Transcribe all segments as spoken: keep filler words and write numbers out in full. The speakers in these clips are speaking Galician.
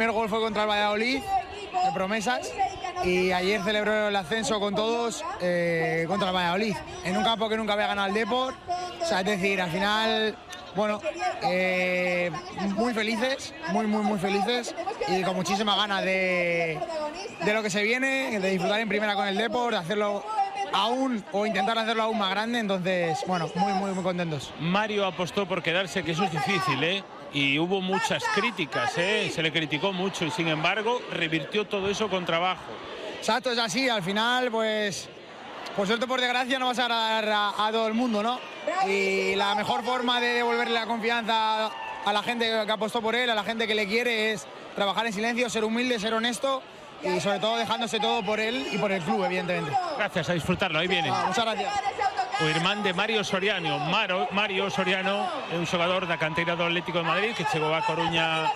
primer gol fue contra el Valladolid, de promesas, y ayer celebró el ascenso con todos eh, contra el Valladolid, en un campo que nunca había ganado el Depor. O sea, es decir, al final, bueno, eh, muy felices, muy, muy, muy felices, y con muchísimas ganas de, de lo que se viene, de disfrutar en primera con el Depor, de hacerlo aún o intentar hacerlo aún más grande. Entonces, bueno, muy, muy, muy contentos. Mario apostó por quedarse, que eso es difícil, ¿eh? Y hubo muchas críticas, ¿eh? Se le criticó mucho y sin embargo revirtió todo eso con trabajo. Exacto, es así, al final, pues, por suerte o por desgracia no vas a agradar a, a todo el mundo, ¿no? Y la mejor forma de devolverle la confianza a la gente que apostó por él, a la gente que le quiere, es trabajar en silencio, ser humilde, ser honesto y sobre todo dejándose todo por él y por el club, evidentemente. Gracias, a disfrutarlo, ahí viene. Ah, muchas gracias. O irmán de Mario Soriano. Maro, Mario Soriano é un xogador da canteira do Atlético de Madrid que chegou a Coruña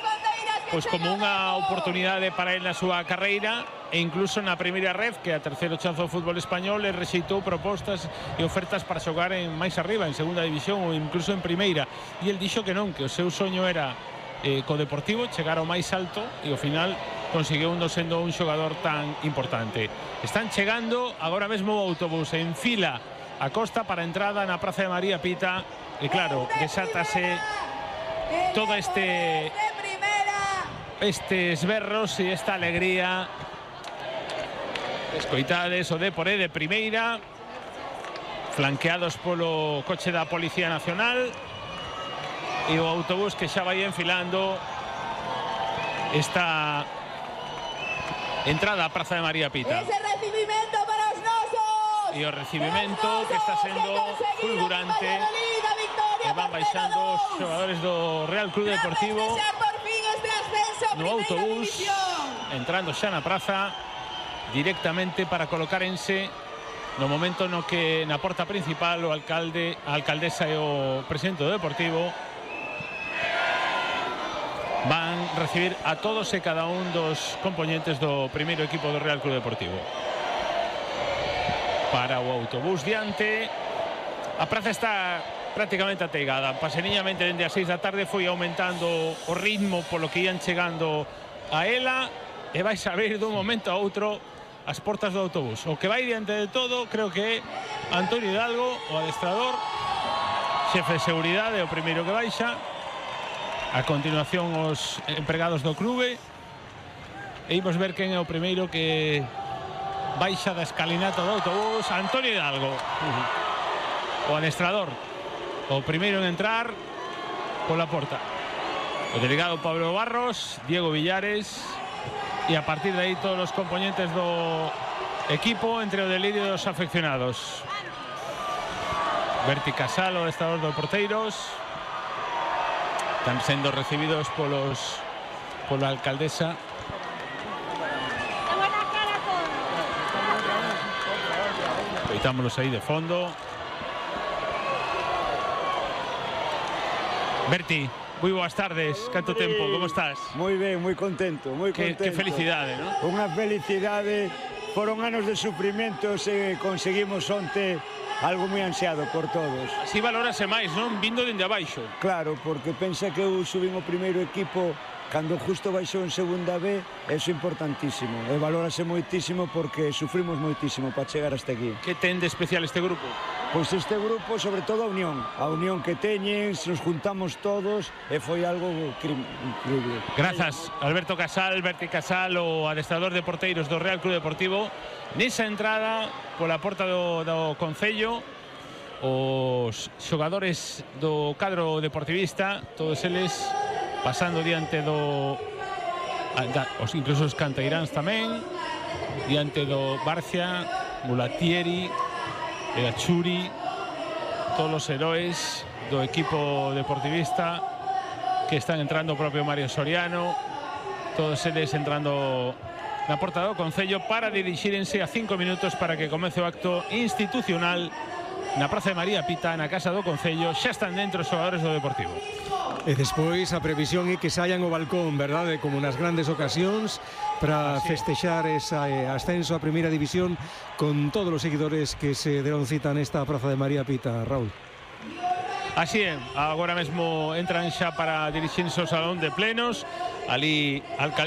pois como unha oportunidade para él na súa carreira, e incluso na primeira ref, que é a terceiro chanzo do fútbol español, e rexeitou propostas e ofertas para xogar en máis arriba, en segunda división ou incluso en primeira, e el dixo que non, que o seu soño era eh, co Deportivo chegar ao máis alto, e ao final conseguiu uno sendo un xogador tan importante. Están chegando agora mesmo o autobús en fila a Costa para a entrada na Praza de María Pita, e claro, desátase todo este estes berros e esta alegría. Escoitades o Depor de primeira, flanqueados polo coche da Policía Nacional, e o autobús que xa vai enfilando esta entrada a Praza de María Pita. Ese recibimento para os nosos. E o recibimento que está sendo fulgurante, e van baixando os xogadores do Real Club Deportivo no autobús, entrando xa na praza directamente para colocarense no momento no que na porta principal o alcalde, a alcaldesa e o presidente do Deportivo van recibir a todos e cada un dos componentes do primeiro equipo do Real Club Deportivo. Para o autobús diante, a praza está prácticamente ateigada. Paseniñamente dende as seis da tarde foi aumentando o ritmo polo que ian chegando a ela, e vais a ver dun momento a outro as portas do autobús. O que vai diante de todo creo que é Antonio Hidalgo, o adestrador, xefe de seguridade, o primeiro que baixa. A continuación os empregados do clube, e imos ver quen é o primeiro que baixa da escalinata do autobús. Antonio Hidalgo, o adestrador, o primeiro en entrar pola porta. O delegado Pablo Barros, Diego Villares, e a partir de aí todos os componentes do equipo, entre o delirio dos afeccionados. Berti Casal, o adestrador dos porteiros, están sendo recibidos polos pola alcaldesa. Coitámolos aí de fondo. Berti, moi boas tardes, canto tempo, como estás? Moi ben, moi contento, moi contento. Que, que felicidade, non? Unha felicidade, foron anos de sufrimentos e conseguimos onte algo moi ansiado por todos. Así valórase máis, non? Vindo dende abaixo. Claro, porque pensa que eu subín o primeiro equipo cando justo baixou en segunda B, eso é importantísimo. E valórase moitísimo porque sufrimos moitísimo para chegar hasta aquí. Que ten de especial este grupo? Pois este grupo, sobre todo a unión. A unión que teñen, nos juntamos todos e foi algo increíble. Grazas, Alberto Casal, Berti Casal, o adestrador de porteiros do Real Club Deportivo. Nesa entrada, pola porta do, do Concello, os xogadores do cadro deportivista, todos eles pasando diante do... Da, os, incluso os canteiráns tamén, diante do Barcia, Mulatieri, e a Churi, todos os heróis do equipo deportivista que están entrando, o propio Mario Soriano, todos eles entrando na porta do Concello para dirixírense a cinco minutos para que comece o acto institucional na Praza de María Pita, na Casa do Concello. Xa están dentro os xogadores do Deportivo. E despois a previsión é que saian ao balcón, verdade, como nas grandes ocasións, para festexar ese ascenso a Primeira División con todos os seguidores que se deron cita nesta Praza de María Pita, Raúl. Así é, agora mesmo entran xa para dirixirse ao salón de plenos. Ali, alcaldesa